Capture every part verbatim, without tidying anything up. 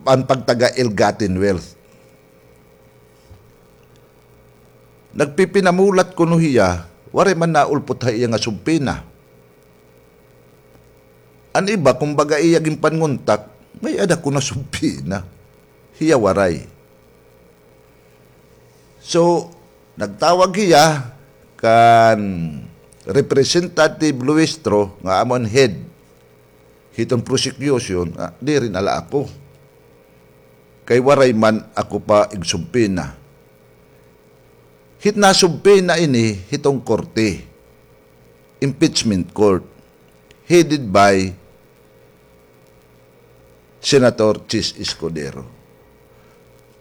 an pagtaga ill-gotten wealth. Nagpipinamulat kuno hiya, waray man naulpot ha iya nga subpina. An iba, kumbaga, iya ginpanguntak, may-ada kuno subpina. Hiya waray. So, nagtawag hiya kan Representative Luistro nga amo an head hiton prosecution, ah, diri na la ako. Kay waray man ako pa igsubpina. Hit nasubpina ini hiton korte, impeachment court, headed by Senator Chiz Escudero.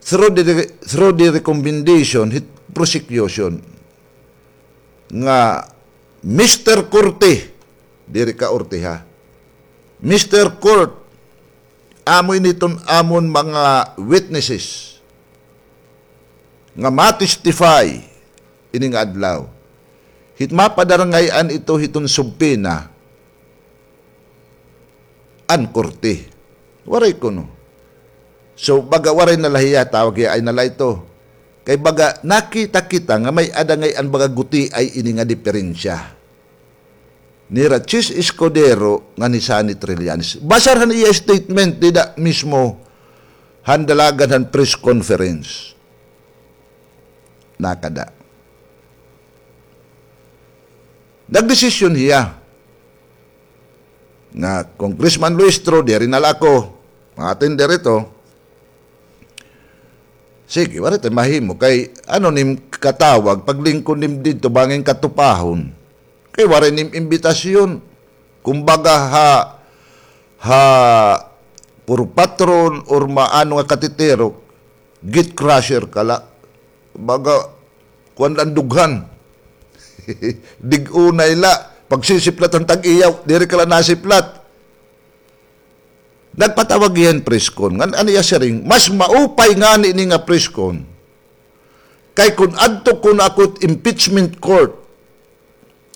Through the, through the recommendation hit prosecution nga, "Mister Korte," diri ka orte ha, "Mister Court, amo ini iton amon mga witnesses nga ma-testify ini nga adlaw. Hit mapadarangay-an ito hiton subpina an korte." Waray kuno. So, baga waray na la hiya, tawag hiya, ay na la ito. Kay baga nakita kita nga may-ada ngay-an baga gutiay ini nga diperensya nira Chiz Escudero ngan hi Sonny Trillanes. Basar han iya statement dida mismo han dalagan han press conference. Nakada. Nagdesisyon hiya nga, "Congressman Luistro, diri na la ako ma-attend diri to. Sige, waray ta mahimo kay ano nim katawag, paglingkod nim didto bangin katupahon. Kay waray nim imbitasyon. Kumbaga ha, ha puro patron or maano nga katitirok, gate crusher ka la. Baga, kuan la an dughan. Dig-unay la. Pagsisiplat an tag-iyaw, diri ka la nasiplat." Nagpatawag hiya hin press con. Ngan an iya siring, mas maupay ngani ini nga press con. Kay kon adto kuno ako hit impeachment court,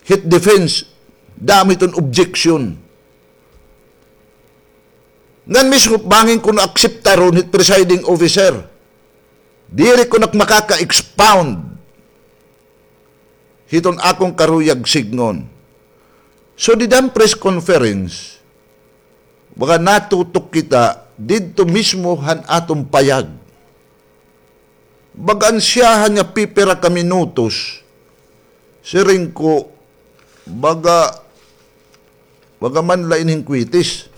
hit defense, damo hiton objection. Ngan mismo bangin kuno akseptaron hit presiding officer. Diri kuno ak makaka-expound hiton akon karuyag sidngon. So, dida han press conference, baga natutok kita didto mismo han aton payag. Baga an siyahan nga pipira ka minutos, siring ko, baga, baga man la ini hin kwitis.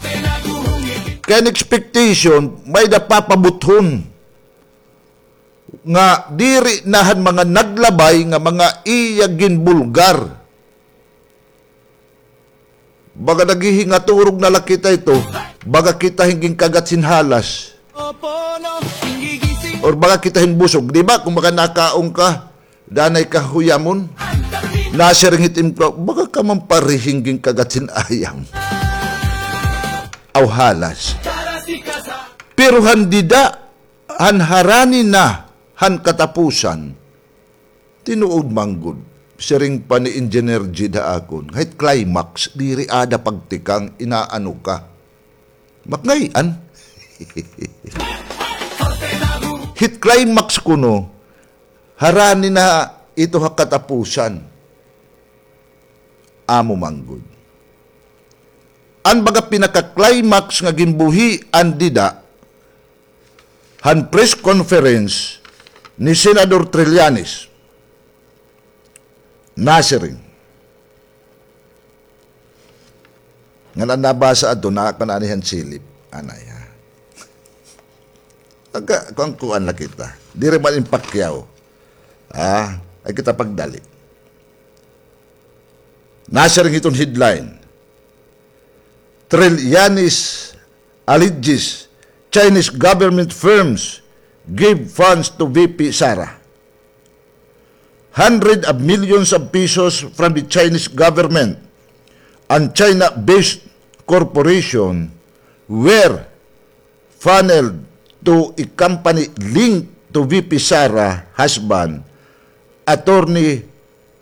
Kay an expectation, may-ada papabuthon nga diri na han mga naglabay nga mga iya ginbulgar. Baga naghihingaturog na la kita ito, baga kita hin ginkagat hin halas. Or baga kita hin busog, di ba? Kon baga nakaon ka, danay ka huyamon. Nasiring hit im-, baga ka man pare hin ginkagat hin ayam. Aw halas. Pero han dida, han harani na han katapusan, tinuod man gud, siring pa ni Engineer Jid ha akon, hit climax, diri ada pagtikang, inaano ka. Makngayan. Hit climax kuno, harani na ito ha katapusan. Amo man gud. An baga pinaka-climax nga ginbuhian dida, han press conference ni Senador Trillanes. Nasiring. Ngan an nabasa adto, naa kan ani han silip. Anay, ha? Aga, kuan-kuan la kita. Diri man in Pacquiao. Ah, ay kita pagdali. Nasiring hiton headline. Trillanes alleges Chinese government firms give funds to V P Sara. Hundred of millions of pesos from the Chinese government and China-based corporation were funneled to a company linked to V P Sara husband, Attorney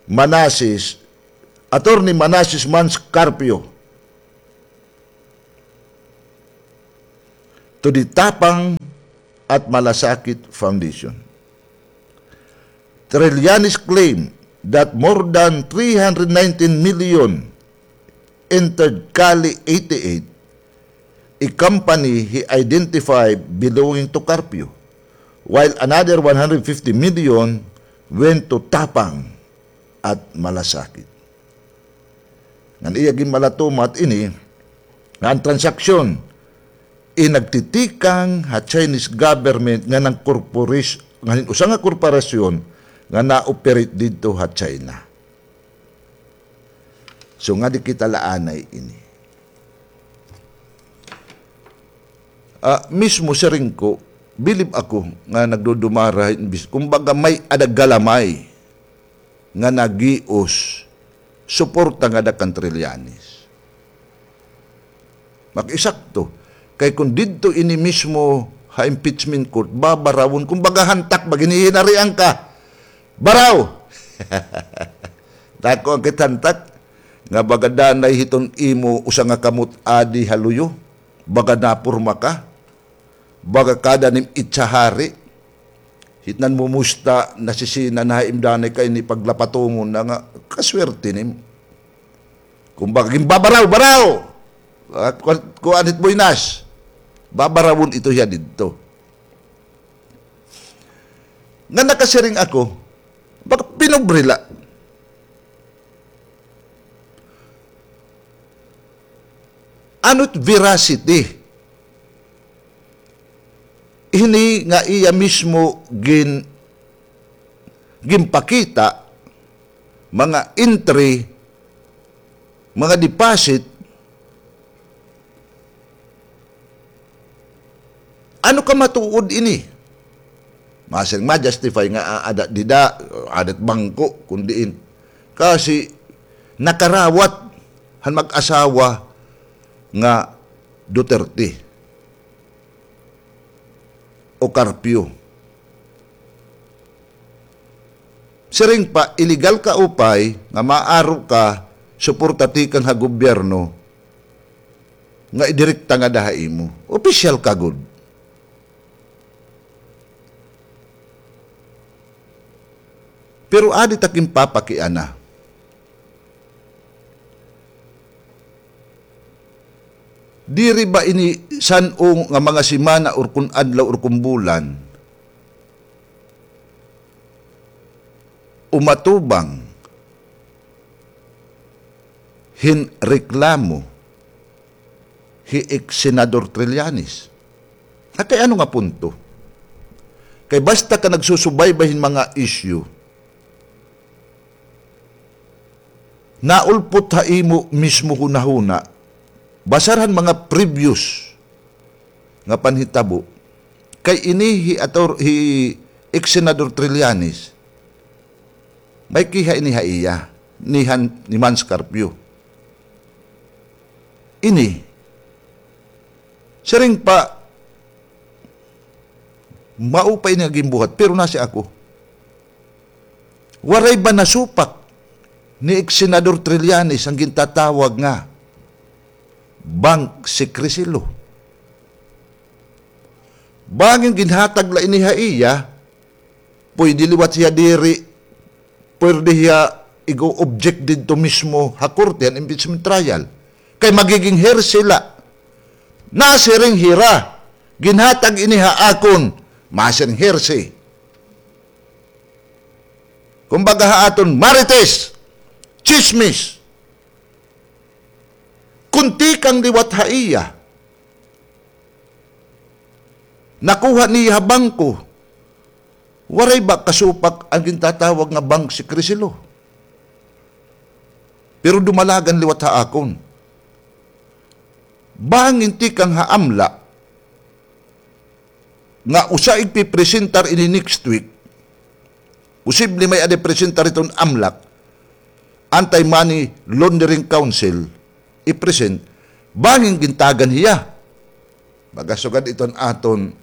Manases, Attorney Manases Mans Carpio, to the Tapang at Malasakit Foundation. Trillanes claim that more than three hundred nineteen million entered Kali eighty-eight, a company he identified belonging to Carpio, while another one hundred fifty million went to Tapang at Malasakit. Ngan iya ginmalatumat ini nga an transaksyon in nagtitikang ha Chinese government nga nang corporation, nga hin usa nga korporasyon nga na-operate didto ha China. So, ngadi kita la anay ini. Ah, mismo siring ko, bilib ako nga nagdudumara hin bis-, kumbaga may-ada galamay nga nagios suporta ngada kan Trillanes. Makisakto. Kay kon didto ini mismo ha impeachment court, babarawon, kumbaga hantak ba, ginhihinarian ka. Baraw! Dako an kit hantak, nga baga danay hiton imo usa nga kamot adi ha luyo, baga naporma ka. Baga kada nim itsahari. Hitnan mo musta nasisina na ha im danay kay ini paglapatomon na nga kaswerte nim. Kumbaga, ginbabaraw, baraw! Ah, kuan, kuan it buenas. Babarawon ito hiya didto. Nga nakasiring ako, baga pinobre la. Ano it veracity? Ini nga iya mismo gin-, ginpakita, mga entry, mga deposit, ano ka matuod ini? Masiring ma-justify nga, ah, ada dida, ada it bangko, kun diin. Kasi nakarawat han mag-asawa nga Duterte o Carpio. Siring pa, illegal ka upay nga maaro ka suporta tikang ha gobyerno nga idirekta ngada ha imo. Opisyal ka gud. Pero adi ta ginpapakiana. Diri ba ini san-o nga mga semana or kun adlaw or kun bulan, umatubang hin reklamo hi ex-senador Trillanes. At kay ano nga punto? Kay basta ka nagsusubaybay hin mga issue, naulpot ha imo mismo hunahuna, basar han mga previous nga panhitabo, kay ini hi ator-, hi ex-senador Trillanes, may kiha ini ha iya, ni han, ni Mans Carpio. Ini, siring pa, mao pa ini nga ginbuhat, pero nasi ako. Waray ba nasupak ni ex-senador Trillanes an gintatawag nga bank secrecy law? Bangin ginhatag la ini ha iya, pwede liwat hiya diri, pwede hiya igo-object didto mismo ha korte han impeachment trial. Kay magiging hearsay la. Nasiring hira, ginhatag ini ha akon, masiring hearsay. Kumbaga ha aton, marites, tsismis. Kun tikang liwat ha iya, nakuha niya ha bangko, waray ba kasupak an gintatawag nga bank secrecy law? Pero dumalagan liwat ha akon. Bangin tikang ha AMLAC, nga usa igpipresentar ini next week, posible may-ada presentar iton AMLAC, Anti-Money Laundering Council, i-present, bangin gintagan hiya. Baga sugad iton aton,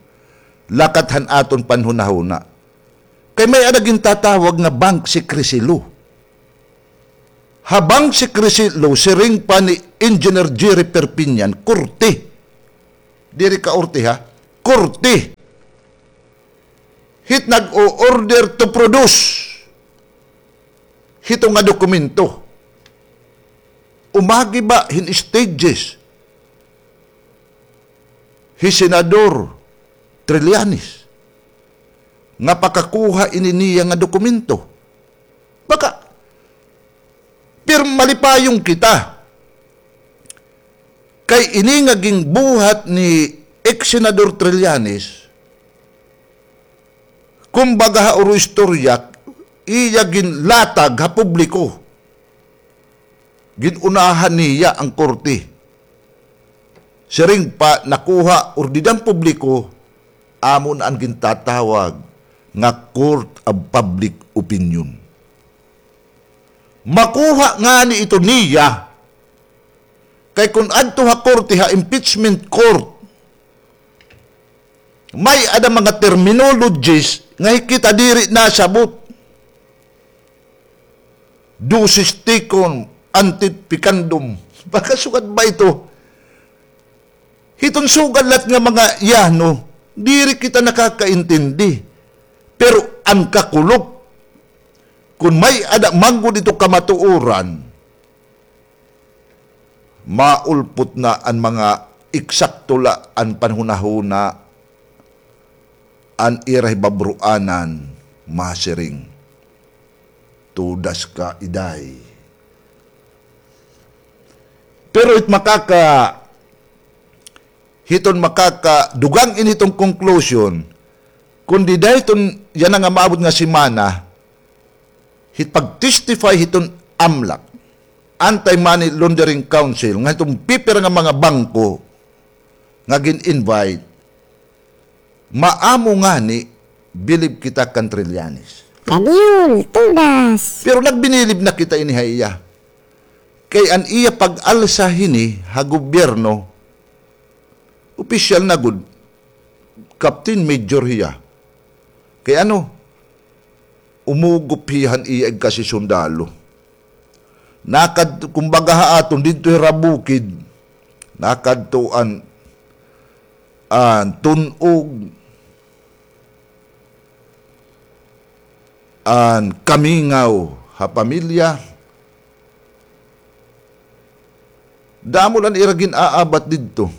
lakat han aton panhunahuna. Kay may-ada gintatawag nga bank secrecy law. Ha bank secrecy law, siring pa ni Engineer Jerry Perpignan, korte. Diri kaorte, ha? Korte. nag-o-order to produce hito nga dokumento. Umagi ba hin stages hi Senador Trillanes nga pakakuha ini niya nga dokumento? Baka pirma, malipayon kita. Kay ini nga ginbuhat ni ex-Senador Trillanes, kumbaga ha uro istorya, iya ginlatag ha publiko. Gin-unahan niya an korte. Siring pa, nakuha ur dida han publiko, amo na an gintatawag nga court of public opinion. Makuha ngani ito niya, kay kon adto ha korte, ha impeachment court, may-ada mga terminologies nga kita diri nasabot. Ducis tecum ante peccandum. Baka sugad ba ito? Hiton sugad lat nga mga yano, diri kita nakakaintindi. Pero an kakulop, kon may-ada man gud ito kamatuoran, maulpot na an mga eksakto la an panhunahuna, an ira hibabruanan, masiring, "Tudas ka, Iday." Pero it makaka-, hiton makakadugang ini hiton conclusion, kundi dida hiton yana nga maabot nga semana, hit pag-testify hiton AMLAC, Anti-Money Laundering Council, nga hiton pipira nga mga bangko nga gin-invite, maamo ngani, bilib kita kan Trillanes. Kadiyol, tudas. Pero nagbinilib na kita ini ha iya. Kay an iya pag-alsa hini ha gobyerno, opisyal na gud, Captain Major hiya. Kay ano, umugop hiya han iya igkasisundalo. Nakadto, kumbaga ha aton, didto hira bukid, nakadto an, an tun-og, an kamingaw ha pamilya. Damo la an ira gin-aabat didto.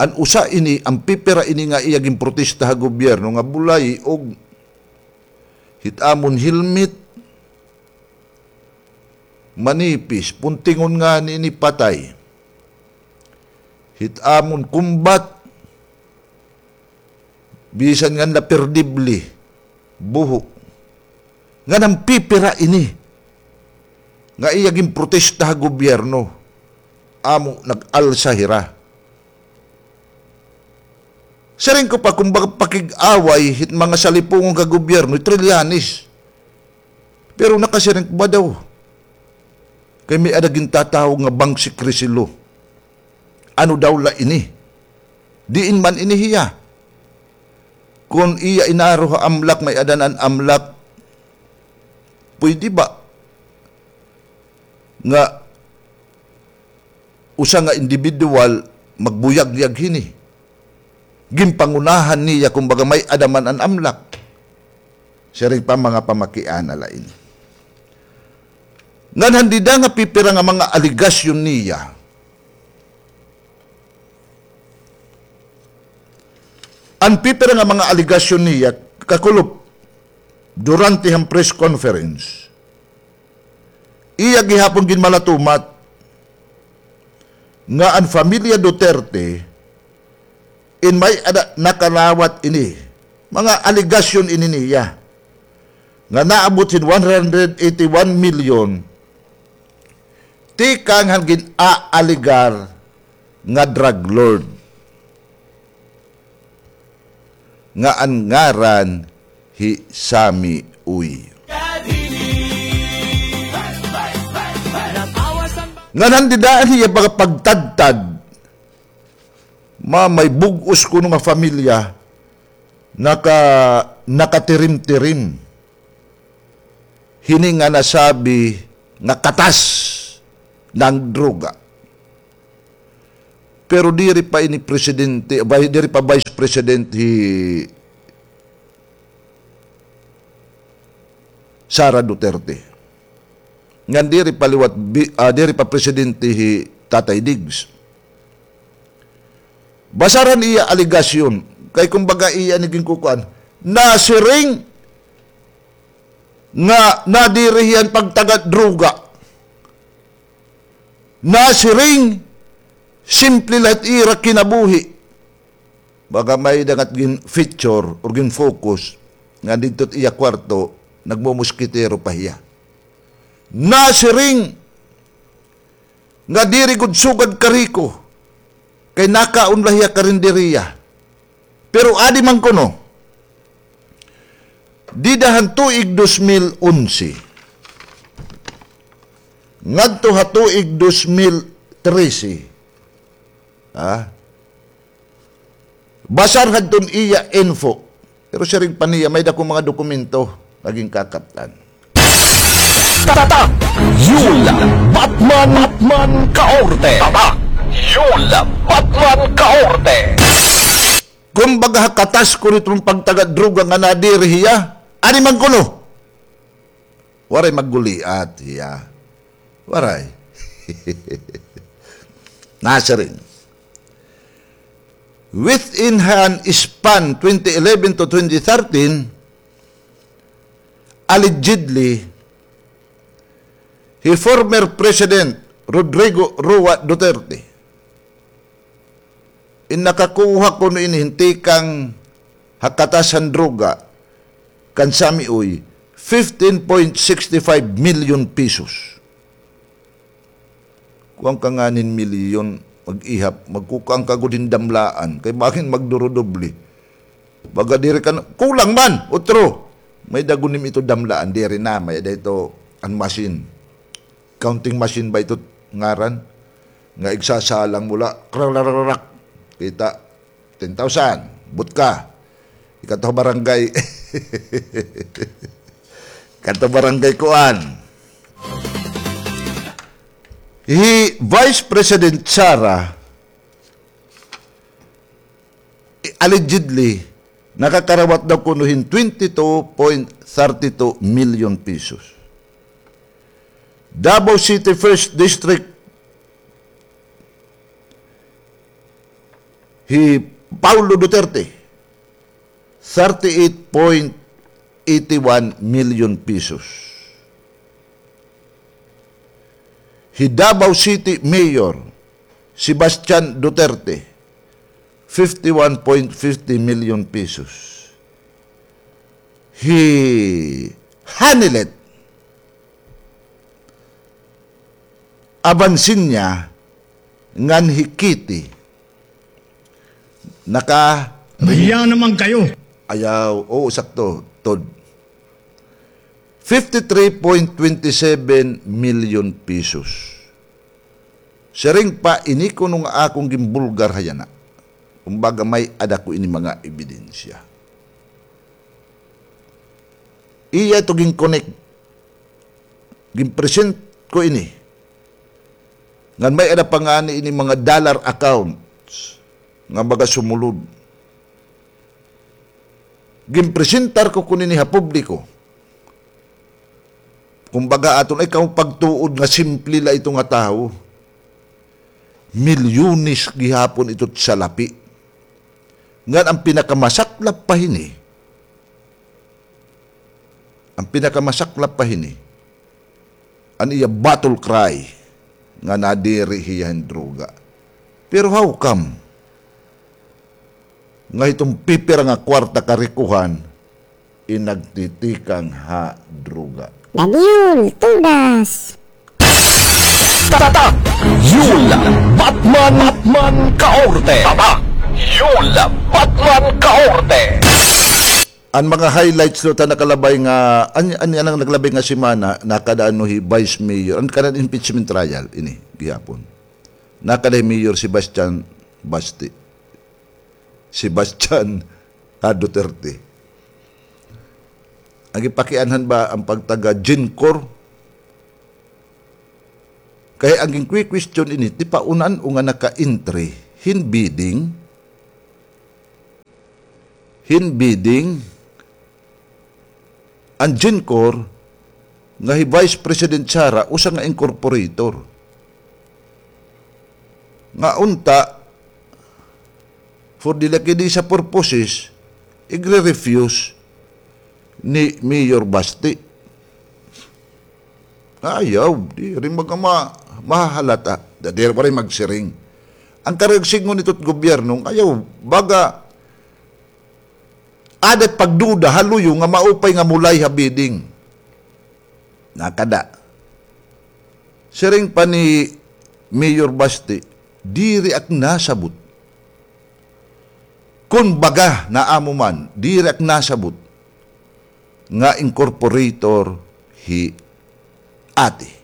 An usa ini, an pipira ini nga iya ginprotesta ha gobyerno nga bulay og hit amon helmet, manipis, puntingon ngani ini patay. Hit amon combat, bisan ngan la perdible, buho. Ngan an pipira ini nga iya ginprotesta ha gobyerno, amo nag-alsa hira. Siring ko pa, kumbaga, pakig-away hit mga salipungon ka gobyerno, Trillanes. Pero nakasiring ko ba daw? Kay may-ada gintatawag nga bank secrecy law. Ano daw la ini? Diin man ini hiya? Kon iya inaro ha AMLAC, may-ada na an AMLAC, pwede ba nga usa nga individual magbuyagyag hini? Ginpangunahan niya, kumbaga, may-ada man an AMLAC. Siring pa, mga pamakiana la ini. Ngan han dida nga pipira nga mga alegasyon niya. An pipira nga mga alegasyon niya, kakulop, durante han press conference, iya gihapon ginmalatumat nga an pamilya Duterte in may-ada nakalawat ini. Mga alegasyon ini niya nga naabot hin one hundred eighty-one million tikang han gin-aalegar nga drug lord nga an ngaran hi Sammy Uy. Ngan han dida an iya pagtadtad, ma-, may bug-os kuno nga pamilya, naka-, nakatirim-tirim hini nga nasabi nga katas na an droga. Pero diri pa ini presidente, vi-, diri pa vice president hi Sara Duterte. Ngan diri pa liwat bi-, ah, diri pa presidente hi Tatay Diggs. Basar han iya alegasyon, kay kumbaga iya ini ginkukuan, nasiring nga nadiri hiya han pagtagad droga. Nasiring, simple la it ira kinabuhi. Baga may-ada nga gin-feature or gin-focus nga didto it iya kwarto, nagmumuskitero pa hiya. Nasiring nga diri gud sugad kariko, kay nakaon la hiya karinderiya. Pero adi man kuno, dida han tuig dos mil onse ngadto ha tuig dos mil trese, ha? Basar hadton iya info. Pero siring pa niya, may-ada ko mga dokumento nga ginkakaptan. Tatak Yul Batman, Batman Kaorte. Tatak Yul Batman Kaorte. Kumbaga, ha katas kuno iton pagtagad droga nga nadiri hiya, adi man kuno. Waray magguliat hiya. Waray. Nasiring. Within han span twenty eleven to twenty thirteen, allegedly, hi former President Rodrigo Roa Duterte, in nakakuha kuno ini hin tikang ha katas han droga kan Sammy Uy, fifteen point sixty five million pesos. Kuan ka ngani hin milyon, mag-ihap, magkukuan ka gud hin damlaan, kay bangin magdurudoble. Baga diri ka na, kulang man, utro. May-ada gud nim ito damlaan, diri na, may-ada ito an machine. Counting machine ba ito ngaran? Nga igsasalang mo la, krakrakrakrak. Kita, ten thousand, butka. Ikadto barangay. Ikadto barangay kuan. Hi Vice President Sara, allegedly, nakakarawat daw kuno hin twenty-two point thirty-two million pesos. Davao City First District, hi Paulo Duterte, thirty-eight point eighty-one million pesos. Hi Davao City Mayor Sebastian Duterte, fifty-one point fifty million pesos. Hi Hanilet Abansiña ngan hi Kitty. Naka- Mahiya naman kayo. Ayaw, oo, sakto, Tod. Fifty-three point twenty-seven million pesos. Siring pa ini kuno nga akon ginbulgar ha yana. Kumbaga, may-ada ko ini mga ebidensya. Iya ito gin-connect. Gin-present ko ini. Ngan may-ada pa ngani ini mga dollar accounts nga baga sumulod. Ginpresentar ko kuno ini ha publiko. Kumbaga, aton ikaw pagtuod nga simple la ito nga tawo. Milyones gihapon ito salapi. Ngan an pinakamasaklap pa hini, an pinakamasaklap pa hini, an iya battle cry nga nadiri hiya hin droga. Pero how come nga hiton pipira nga kwarta karikuhan in nagtitikang ha droga? Dadyul Tudas. Tatak Yul Batman, Batman Kaorte. Tatak Yul Batman Kaorte. An mga highlights liwat han nakalabay nga, an, an, an nakalabay nga semana, nakada ano hi Vice Mayor, an kanan impeachment trial, ini, gihapon. Nakada hi Mayor Sebastian Basti. Sebastian A. Duterte. An gipakianhan ba an pagtaga GenCorp? Kay an ginque-question ini, tipaon-an o nga naka-entry hin bidding, hin bidding, an GenCorp, nga hi Vice President Sara usa nga incorporator. Nga unta, for the lucky di sa purposes, igre-refuse ni Mayor Basti. Ayaw, diri magama, mahahalata. Da, diri pa rin magsiring. An karuyag sidngon hito it gobyerno, ayaw, baga, aada it pagduda ha luyo nga maupay nga mulay ha bidding. Nakada. Siring pa ni Mayor Basti, diri ak nasabot. Kon baga, naamo man, diri ak nasabot nga incorporator hi ate.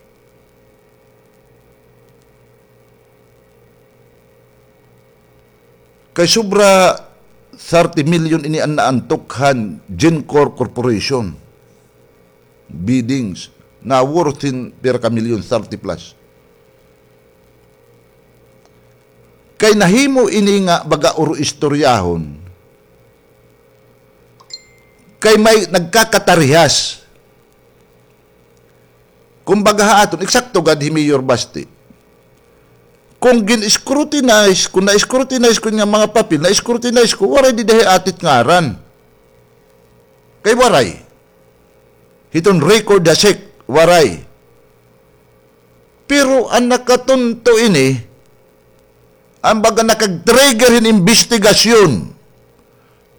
Kay sobra thirty million ini an naantok han GenCor Corporation biddings na worth hin pira ka milyon, thirty plus. Kay nahimo ini nga baga uro istoryahon. Kay may nagkakatarihas. Kumbaga ha aton, eksakto gad hi Mayor Basti. Kon gin-scrutinize, kon na-scrutinize ko nga mga papel, na-scrutinize ko, waray dida hi ate it ngaran. Kay waray. Hiton record ha SEC, waray. Pero an nakatunto ini, an baga nakag-trigger hin imbestigasyon,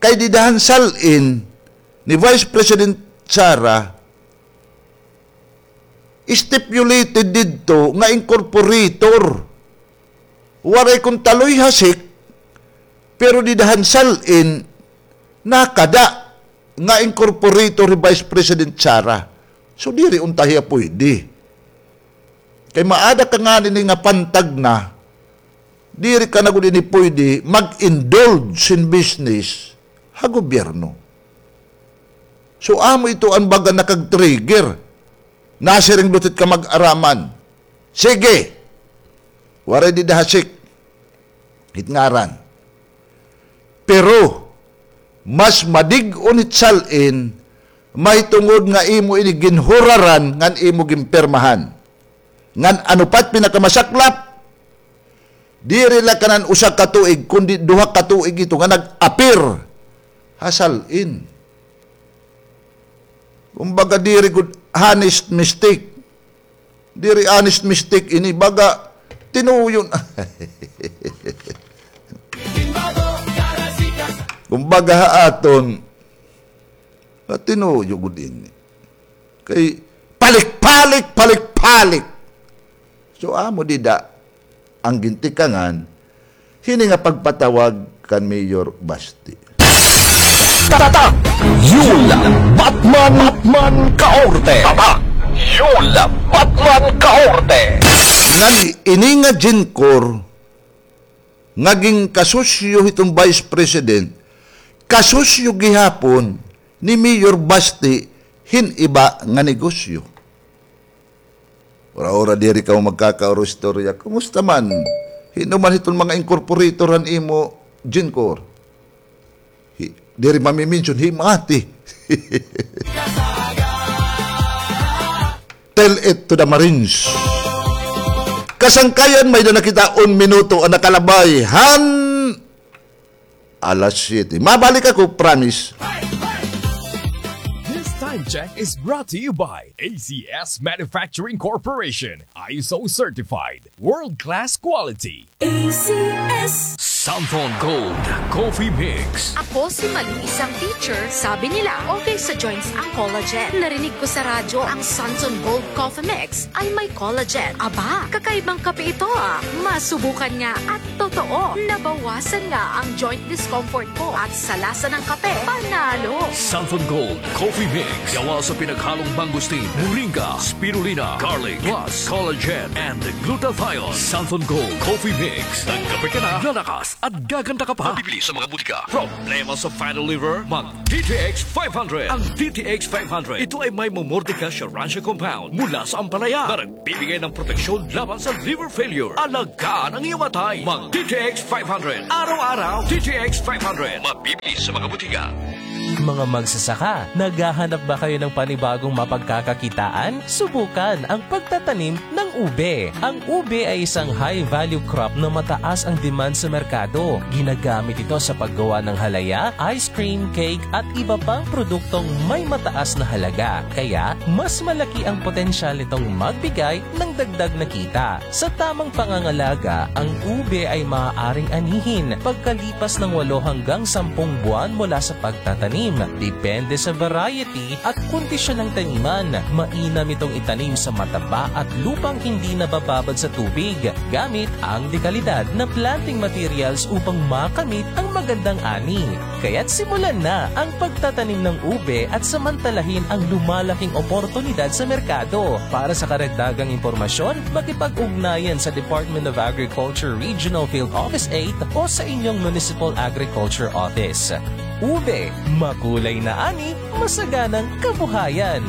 kay dida han sal-in ni Vice President Sara, stipulated didto nga incorporator. Waray kon taloy ha SEC, pero dida han sal-in, nakada nga incorporator hi Vice President Sara. So, diri unta hiya puyde. Kay maada ka ngani ini nga pantag na, diri ka na gud ini puyde mag-indulge hin business ha gobyerno. So, amo ito an baga nakag-trigger. Nasiring liwat it kamag-araman. Sige. Waray dida ha SEC it ngaran. Pero, mas madig-on it sal-in, mahitungod nga imo ini ginhuraran ngan imo ginpirmahan. Ngan ano pa it pinakamasaklap, diri la kanan usa ka tuig, kundi duha ka tuig ito nga nag-appear ha sal-in. Kumbaga, diri gud honest mistake. Diri honest mistake ini, baga tinuyo na. Kumbaga ha aton, ah, tinuyo gud ini. Kay palik-palik, palik-palik. So, amo dida an gintikangan hini nga pagpatawag kan Mayor Basti. Tatak Yul Batman, Batman Kaorte. Tatak Yul Batman Kaorte. Ngan ini nga GenCor nga ginkasosyo hiton Vice President, kasosyo gihapon ni Mayor Basti hin iba nga negosyo. Ura-ura diri kamo magkakauro istorya. Kumusta man? Hin-o man hiton mga incorporator han imo GenCor? Hi-, diri mami-mention, hi Mati. Tell it to the Marines. Kasangkayan, may-ada na kita un minuto an nakalabay han alas siyete. Mabalik ako, promise. This time check is brought to you by A C S Manufacturing Corporation, I S O certified, world-class quality. A C S. Santhon Gold Coffee Mix. Ako si Malu, isang teacher. Sabi nila, okay sa joints ang collagen. Narinig ko sa radyo, ang Santhon Gold Coffee Mix ay may collagen. Aba, kakaibang kape ito, ah. Masubukan nga at totoo, nabawasan nga ang joint discomfort ko at sa lasa ng kape, panalo. Santhon Gold Coffee Mix. Gawa sa pinaghalong mangosteen, moringa, spirulina, garlic, plus collagen and glutathione. Santhon Gold Coffee Mix. Nagkape ka na, lalakas at gaganda ka pa. Mabibili sa mga butika. Problema sa fatty liver? Mag D T X five hundred. Ang D T X five hundred, ito ay may momordica siya rancia compound mula sa ampalaya na nagbibigay ng proteksyon laban sa liver failure. Alagaan ang iyong atay. Mag D T X five hundred. Araw-araw, D T X five hundred. Mabibili sa mga butika. Mga magsasaka, naghahanap ba kayo ng panibagong mapagkakakitaan? Subukan ang pagtatanim ng ube. Ang ube ay isang high-value crop na mataas ang demand sa merkado. Ginagamit ito sa paggawa ng halaya, ice cream, cake, at iba pang produktong may mataas na halaga. Kaya, mas malaki ang potensyal nitong magbigay ng dagdag na kita. Sa tamang pangangalaga, ang ube ay maaaring anihin pagkalipas ng walo hanggang sampung buwan mula sa pagtatanim. Depende sa variety at kondisyon ng taniman. Mainam itong itanim sa mataba at lupang hindi nabababad sa tubig gamit ang dekalidad na planting materials upang makamit ang magandang ani. Kaya't simulan na ang pagtatanim ng ube at samantalahin ang lumalaking oportunidad sa merkado. Para sa karagdagang impormasyon, makipag-ugnayan sa Department of Agriculture Regional Field Office eight o sa inyong Municipal Agriculture Office. Ube, makulay na ani, masaganang kabuhayan.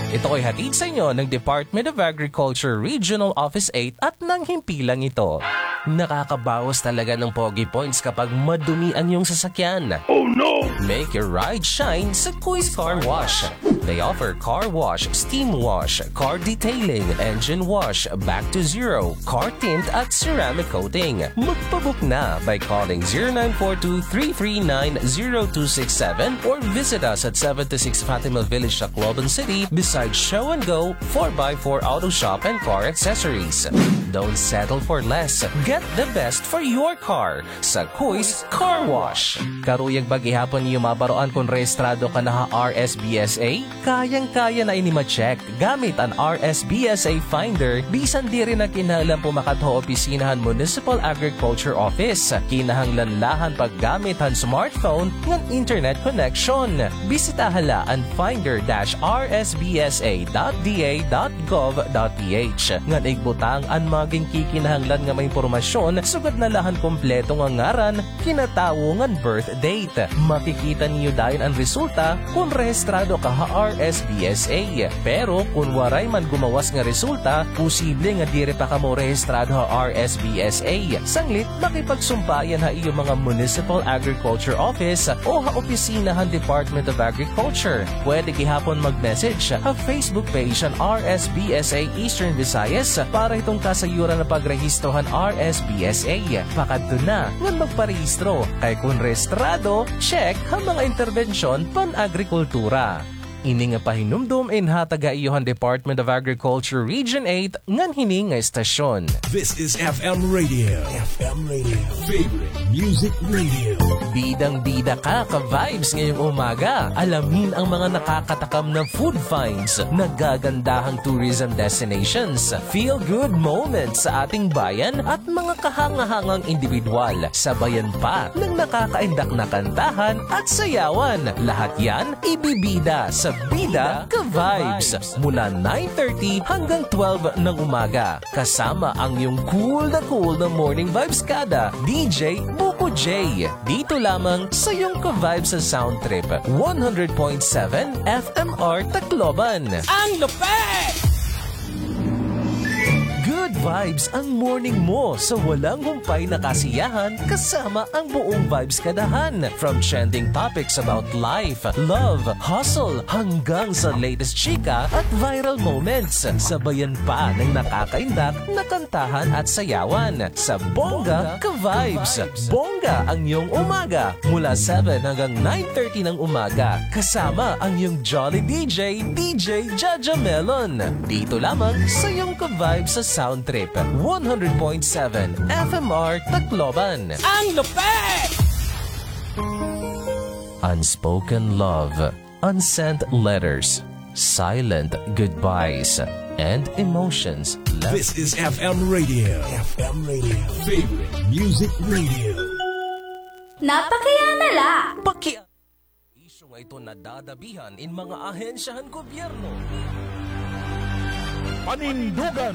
Ito ay hatid sa inyo ng Department of Agriculture Regional Office eight at ng himpilang ito. Nakakabawas talaga ng pogi points kapag madumi ang iyong sasakyan. Oh no! Make your ride shine sa Kuis Car Wash. They offer car wash, steam wash, car detailing, engine wash, back to zero, car tint at ceramic coating. Magpabook na by calling zero nine four two three three nine zero two six seven or visit us at seventy-six Fatima Village, Tacloban City, beside Show and Go, four by four Auto Shop and Car Accessories. Don't settle for less. Get the best for your car sa Kuis Car Wash. Karuyag ba gihapon niyo mabaroan kon rehistrado ka na ha R S B S A? Kayang-kaya na ini ma-check gamit an R S B S A Finder, bisan diri na kinahanglan pumakadto ha opisina han Municipal Agriculture Office. Kinahanglan la han paggamit han smartphone ngan internet connection. Bisitaha la an finder dash R S B S A dot D A dot gov dot P H ngan igbutang an mga ginkikinahanglan nga mga impormasyon, sugad na la han kompleto nga ngaran, kinatawo ngan birth date. Makikita niyo dayon an resulta kon rehistrado ka ha R S B S A. Pero kon waray man gumawas nga resulta, posible nga diri pa kamo rehistrado ha R S B S A. Sanglit, makipagsumpayan ha iyo mga Municipal Agriculture Office o ha opisina han Department of Agriculture. Pwede gihapon mag-message ha Facebook page han R S B S A Eastern Visayas para hiton kasayuran nga pagrehistro han R S B S A. Pakadto na ngan magparehistro, kay kon rehistrado, check ha mga interbensyon pan-agrikultura. Ini nga pahinumdom inhatag ha iyo han Department of Agriculture Region eight ngan hini nga estasyon. This is F M Radio. F M Radio. Favorite Music Radio. Bidang-bida ka, ka-vibes, ngayong umaga. Alamin ang mga nakakatakam na food finds, nagagandahang tourism destinations, feel-good moments sa ating bayan at mga kahanga-hangang indibidwal. Sabayan pa ng nakakaindak na kantahan at sayawan. Lahat yan ibibida sa Bida Ka-Vibes mula nine thirty hanggang twelve ng umaga. Kasama ang iyong cool na cool na morning vibes kada, D J Buko J. Dito lamang sa iyong ka-vibes sa Sound Trip, one hundred point seven F M R Tacloban. Ang lupit! Good vibes ang morning mo sa walang humpay na kasiyahan kasama ang buong Vibes Kadahan. From trending topics about life, love, hustle, hanggang sa latest chika at viral moments. Sabayan pa ng nakakaindak na kantahan at sayawan sa Bongga Ka-Vibes. Bongga ang iyong umaga mula seven hanggang nine thirty ng umaga. Kasama ang iyong jolly D J, D J Jaja Melon. Dito lamang sa iyong ka-vibes sa Sound Trip, one hundred point seven F M R Tacloban. Ang lupit! Unspoken love, unsent letters, silent goodbyes, and emotions left. This is F M Radio. F M Radio. Favorite Music Radio. Napakiana la. Paki- Isyu nga ito nadadabihan in mga ahensya han gobyerno. Panindugan.